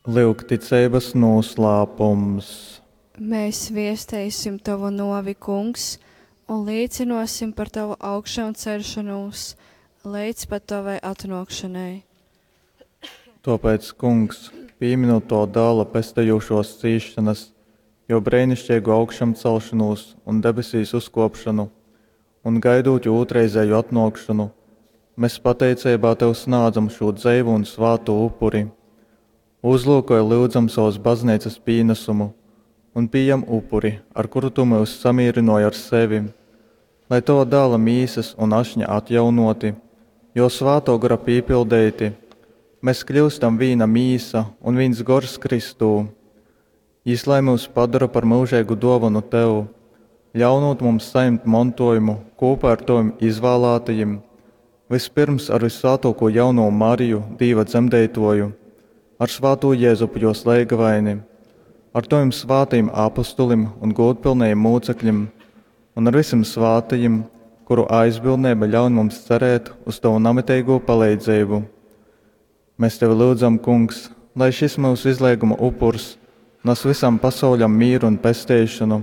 Lyugticeibas nūslāpums. Mēs viesteisim Tovu nuovi, Kungs, un līcinosim par Tavu augšanceļšonūs leidz pat Tovai atnōkšanai. Tōpēc, Kungs, pīminūt Tova Dāla pestejūšōs cīsšonas, jō breiniškeigu augšamcelšonūs un debesīs uzkōpšonu, un gaidūt jō ūtrreizēju atnōkšonu, mes pateiceibā Tev snādzam šū dzeivū un svātū upuri. Uzlūkoj, lyudzam, sovas Bazneicas pīnasumu un pījam upuri, ar kuru Tu myus samīrynōji ar sevi, lai Tova Dāla mīsas un ašņa atjaunōti, Jō Svātō Gora pīpildeiti, mes kļyustam vīna mīsa un vīns gors Kristū. Jys lai myus padora par myužeigu dōvonu Tev, ļaunūt mums sajimt montōjumu kūpā ar Tovim izvālātajim, vyspyrms ar vyssvātōkū jaunovu Mariju, Dīva dzemdeitōju, ar svātū Jezupu jōs leigavaini, ar Tovim svātajim apostolim un gūdpylnajim mūcekļim un ar vysim svātajim, kuru aizbildneiba ļaun mums cerēt uz Tovu namiteigū paleidzeibu. Mēs Tevi lyudzam, Kungs, lai šis myusu izleiguma upurs nas vysam pasauļam mīru un pesteišonu.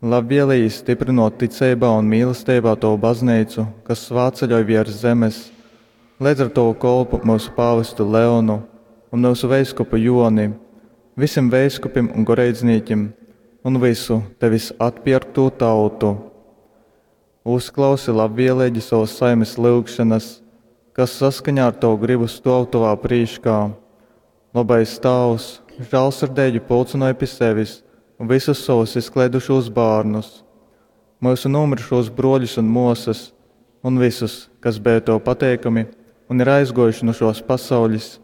Labvēlīgi stiprinot ticeibā un mīlesteibā Tovu bazneicu, kas svātceļoj viers zemes, leidz ar Tovu kolpu myusu pāvestu Leonu un myusu veiskupu Joni, vysim veiskupim un goreidznīkim un vysu Tevis atpierktū tautu. Uzklausi labvēlīgi savas saimes lyugšanas, kas saskaņā ar Tavu gribu stōv Tovā prīškā. Lobais Tāvs, žālsirdeigi pulcynoj pi sevis vysus sovus izkleidušūs bārnus, myusu nūmyrušūs brōļus un mōsas un vysus, kas beja Tev pateikami un ir aizgōjuši nu šōs pasaules.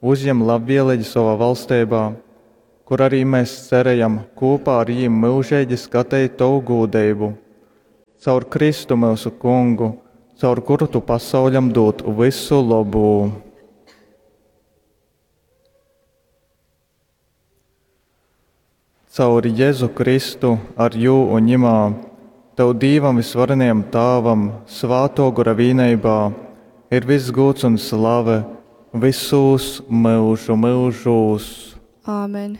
Uzjem labvēlīgi sovā valsteibā, kur arī mēs cerējam kūpā ar jīm myužeigi skateit Tovu gūdeibu. Caur Kristu myusu Kungu, caur kuru Tu pasauļam dūd vysu lobū. Caur Jezu Kristu, ar jū un ņimā, Tev Dīvam vysvarenajam Tāvam, Svātō Gora vīneibā, ir viss gūds un slave visūs myužu myužūs. Āmen.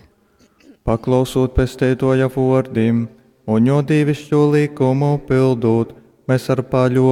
Paklausūt Pesteitōja vōrdim un jō dīviškū lykumu pildūt, mēs ar paļōveibu.